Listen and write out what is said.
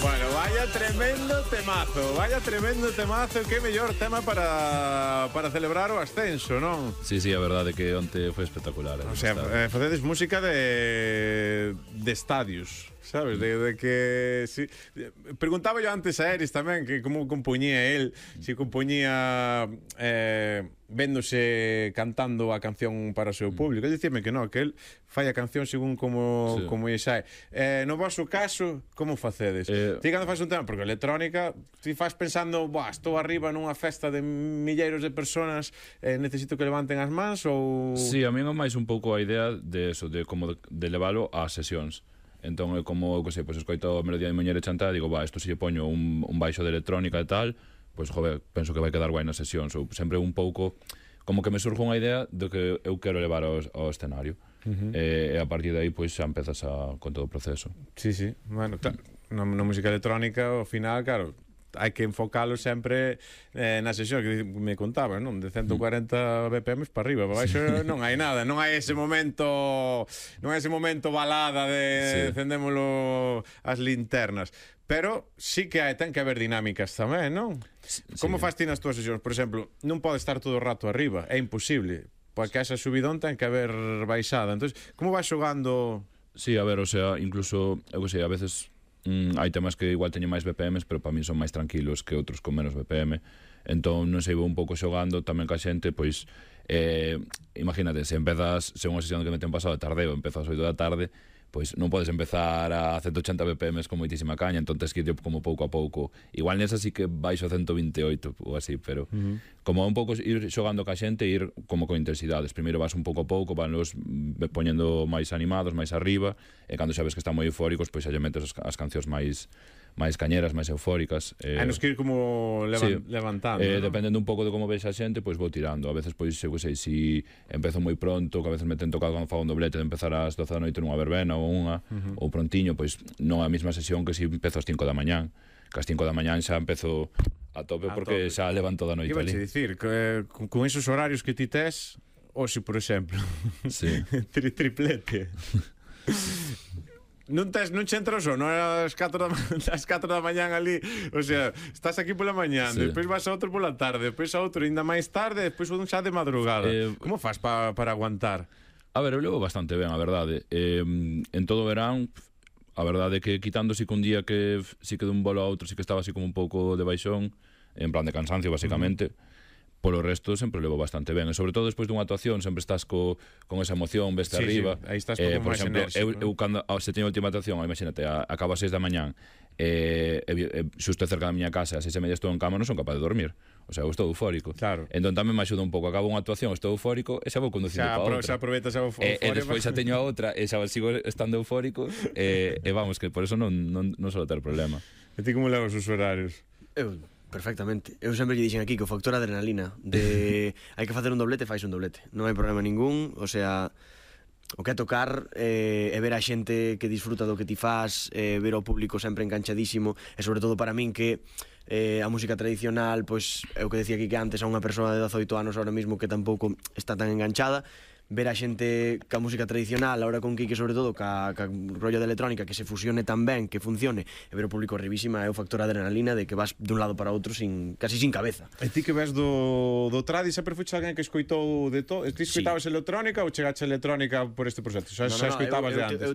Bueno, vaya tremendo temazo, que mellor tema para celebrar o ascenso, non? Sí, a verdade que onte foi espectacular. O sea, facedes música de estadios, sabes? De que si, preguntaba yo antes a Eris tamén que como compoñía el, si compoñía véndose cantando a canción para o seu público. Ele dicime que non, que el fai a canción según como lle sai. No vosso caso, como facedes? Ti cando faz un tema, porque a electrónica ti faz pensando, estou arriba nunha festa de milleiros de personas, necesito que levanten as mans ou... Sí, a mí é máis un pouco a idea de eso, de como de levalo ás sesións. Entón, como, que sei, pois escoito a melodía de Muñeira chantada, digo, isto se lle poño un baixo de electrónica e tal, pois, joder, penso que vai quedar guai na sesión. Sempre un pouco, como que me surge unha idea do que eu quero levar ao escenario. E a partir de aí, pois, xa empezas con todo o proceso. Sí, bueno, na música electrónica, ao final, claro, hai que enfocalo sempre na sesión que me contaba, non? De 140 BPM para arriba, para baixo non hai nada, non hai ese momento balada de encendémolo as linternas, pero sí que ten que haber dinámicas tamén, non? Como faz ti nas túas sesións? Por exemplo, non pode estar todo o rato arriba, é imposible, porque esa subidón ten que haber baixada. Entón, como vas xogando? Sí, a ver, o sea, incluso, eu que sei, a veces hai temas que igual teñen máis BPMs, pero para mí son máis tranquilos que outros con menos BPM. Entón, non sei, vou un pouco xogando tamén ca xente, pois imagínate, se empezas, se unha sesión que me ten pasado de tardeo, empezas ás 8 da tarde, pois non podes empezar a 180 BPMs con moitísima caña, entón tens que ir como pouco a pouco. Igual nesa sí que baixo a 128 ou así, pero como un pouco ir xogando ca xente e ir como con intensidades. Primeiro vas un pouco a pouco, vanlos poñendo máis animados, máis arriba, e cando sabes que están moi eufóricos, pois xa lle metes as cancións máis cañeras, máis eufóricas. Nos que ir como levantando, ¿no? Dependendo un pouco de como veis a xente, pois vou tirando. A veces, pois, eu que sei, si empezo moi pronto, que a veces me ten tocado cando fago un doblete de empezar ás 12 da noite nunha verbena ou unha, ou prontiño, pois non a mesma sesión que si empezo ás 5 da mañán. Que ás 5 da mañán xa empezo a tope porque xa levan toda a noite ali. Iba a dicir, con esos horarios que ti tes, hoxe, por exemplo, triplete. Non che entra o sono ás 4 da mañán ali, o sea, estás aquí pola mañán, despois vas a outro pola tarde, despois a outro ainda máis tarde, despois un xa de madrugada. Como faz para aguantar? A ver, eu levo bastante ben, a verdade. En todo o verán, a verdade é que quitando que un día que si que dun bolo a outro, si que estaba así como un pouco de baixón, en plan de cansancio, basicamente, polo resto sempre levo bastante ben, e sobre todo despois dunha actuación sempre estás con esa emoción, veste arriba. Aí estás como máis enérxico. Eu cando se teño a última actuación, imagínate, acabo a 6 da mañán, xusto cerca da miña casa, a 6:30 estou en cama, non son capaz de dormir. O sea, eu estou eufórico. Claro. Entón tamén me axuda un pouco, acabo unha actuación, estou eufórico, e xa vou conducindo para outra. Xa aproveitas a euforia. E despois xa teño a outra, e xa sigo estando eufórico, e vamos, que por eso non solo ter problema. E ti como levas os horarios? Perfectamente. Eu sempre lle dixen aquí que o factor adrenalina de hai que facer un doblete, fais un doblete. Non hai problema ningún, o sea, o que é tocar e ver a xente que disfruta do que ti faz, ver o público sempre enganchadísimo, e sobre todo para min que a música tradicional, pois é o que decía aquí que antes a unha persoa de 18 anos ahora mismo que tampouco está tan enganchada, ver a xente ca música tradicional, ahora con Quique sobre todo, ca rollo de electrónica, que se fusione tan ben, que funcione, e ver o público arribísima é o factor adrenalina de que vas dun lado para outro casi sin cabeza. E ti que ves do tradi, sempre fuiste alguén que escoitou de todo? Ti escoitabas electrónica ou chegaste a electrónica por este proxecto? Xa escoitabas de antes?